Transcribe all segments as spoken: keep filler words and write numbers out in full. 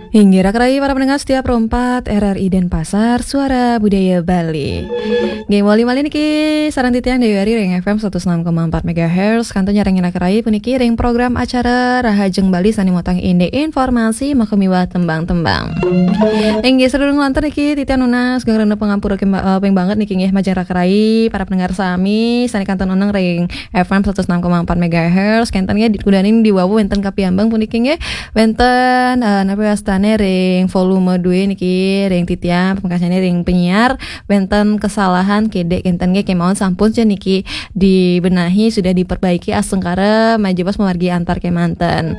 Inggih, raka rayi para pendengar setia Pro empat R R I Denpasar, Suara Budaya Bali. Inggih, malih-malih niki sareng titiang Dewi Ari ring F M satus enam koma empat megahertz, kantun nyarengin raka rayi puniki ring program acara Rahajeng Bali sane mautang indik informasi makamiwah tembang-tembang. Inggih, sadurung lantur niki titiang nunas geng rena pangampura kemba-, eh, ping banget niki nggih majeng raka rayi para pendengar sami sane kantun oneng ring F M satus enam koma empat megahertz, kenten nggih di, kudaning di wau wenten kapiambang puniki nggih. Wenten, eh, napi wastane ring volume dua niki, ring titiang, pamekasane ring penyiar, wenten kesalahan kedek kenten nggih, kemawon sampun ja niki dibenahi, sudah diperbaiki astungkara majeng bos mamargi antar kemanten.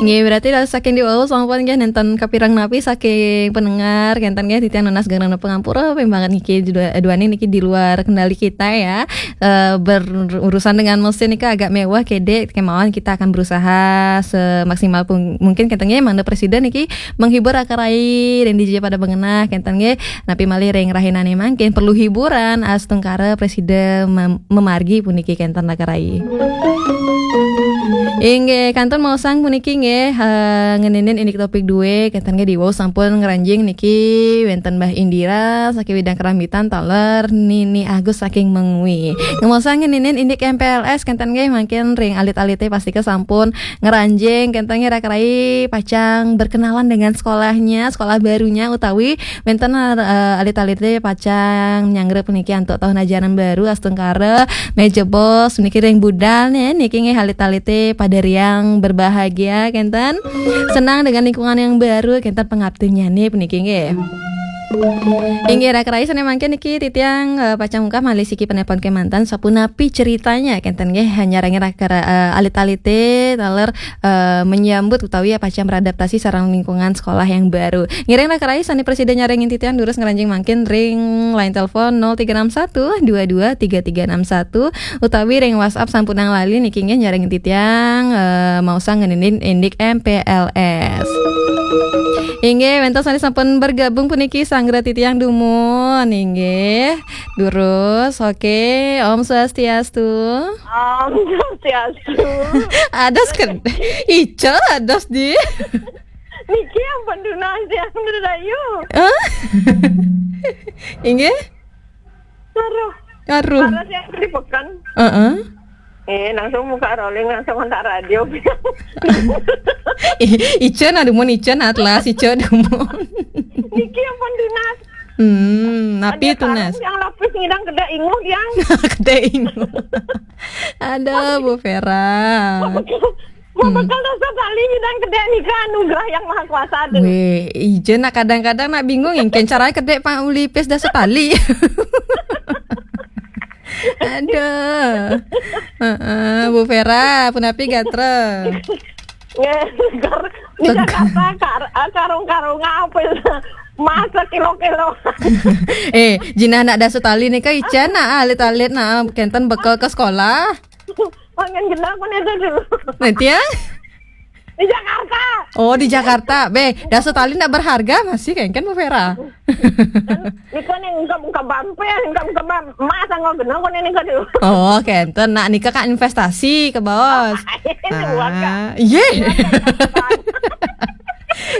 Nggih, berarti dah saking di wau sampun nggih nenten kapireng napi saking pendengar, kenten nggih titiang nunas geng rena pangampura, ping banget niki dua-, duaning niki di luar kendali kita ya. Eh, berurusan dengan mesin niki agak mewah kedek, kemawon kita akan berusaha semaksimal pung-, mungkin kenten nggih, mangda presiden niki menghibur raka rayi ring dija pada bengenah kenten nggih. Napi malih ring rahinane mangkin perlu hiburan astungkara presiden mem-, memargi puniki kenten raka rayi. Inggih, kantun maosang puniki nggih, eh, ngeninin indik topik dua, kenten nggih di wau sampun ngranjing niki wenten Mbah Indira saking Widang Kerambitan taler Nini Agus saking Mengwi. Ngemaosang ngeninin indik M P L S kenten nggih mangkin ring alit-alite pastika sampun ngranjing kenten nggih raka rayi pacang berkenalan dengan sekolahnya, sekolah barunya utawi wenten, eh, alit-alite pacang nyanggra puniki antuk tahun ajaran baru astungkara majeng bos niki ring budal nih, niki nggih alit-alite pada riang berbahagia kenten. Senang dengan lingkungan yang baru kenten pangaptinyane puniki nggih. Inggih raka rayi sane mangkin niki titiang, eh, pacang ungkap malih siki penelpon kemanten sapunapi ceritanya kenten nggih nyarengin raka ra-, eh, alit-alite taler eh, menyambut utawi ya pacang beradaptasi sareng lingkungan sekolah yang baru. Ngiring raka rayi sane prasida nyarengin titiang durus ngranjing mangkin ring line telepon nol tiga enam satu dua dua tiga tiga enam satu utawi ring WhatsApp sampunang lali niki nggih nyarengin titiang, eh, maosang ngeninin indik M P L S. Inggih, wenten sane sampun bergabung puniki sanggra titiang dumun inggih. Durus, oke. Om Swastiastu. Om Swastiastu. Adas ke, ica adas di. Niki ampun tunas yang Rahayu. Hah? Inggih? Aduh. Aduh. Para yang di pekan. Heeh. Eh, langsung buka rolling, langsung kontak radio. I-, ica na dumun, ica na atlas, ica dumun. Niki ampun tunas. Hmm, napi tunas? Yang lapis ngidang kedek inguh yang. Kedek inguh. Aduh, Bu Vera. Mau bekel dasa tali ngidang kedek nika anugerah yang maha kuasa tu. Weh, ija nak kadang-kadang nak bingung, engken cara kedek pang ulipis dasa tali. Aduh. Heeh, Bu Vera, punapi gatra? Nggih, kar-, di Jakarta kar-, ah, karung-karung apa itu? Masak kilo-kilo. Eh, jinah nak dasa tali nika ican nak alit-alit nak kenten bekel ke sekolah. Pangan genah pun itu dulu. Nanti ya? Di Jakarta. Oh, di Jakarta. Be, dasa tali nak berharga masih kan, kan Bu Vera? Nika nih, engkau buka bampil, engkau buka bam-, emas, engkau genah pun ini dulu. Oh, kenten. Nak nika kan investasi ke bos. Ini uang, Kak. Ah, iya.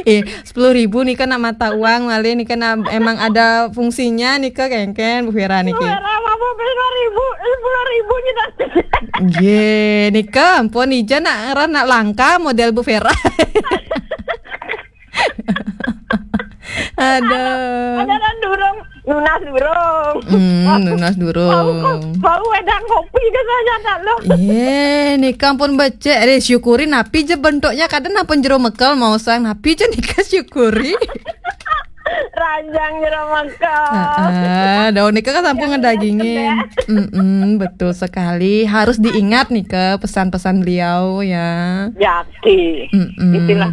Eh, sepuluh ribu nika nak mata uang malih nika nak emang ada fungsinya nika kengken Bu Vera niki. Bu Vera, apa sepuluh ribu? Eh, sepuluh ribu kita. Nggih, nika ampun ija nak ngeran nak langka model Bu Vera. Aduh. Ada kan durung, nunas durung. Hmm, nunas durung. Mau ko-, mau wedang kopi ke saya tak lo. Iya, nika ampun becek. Eh, syukuri napi je bentuknya, kadang ampun jero mekel mau sang napi je nika syukuri. Ranjang jero mekel. Heeh, daun nika kan sampun ngedagingin. Mm-mm, betul sekali. Harus diingat nika pesan-pesan beliau ya. Yaki. Mm-mm. Itulah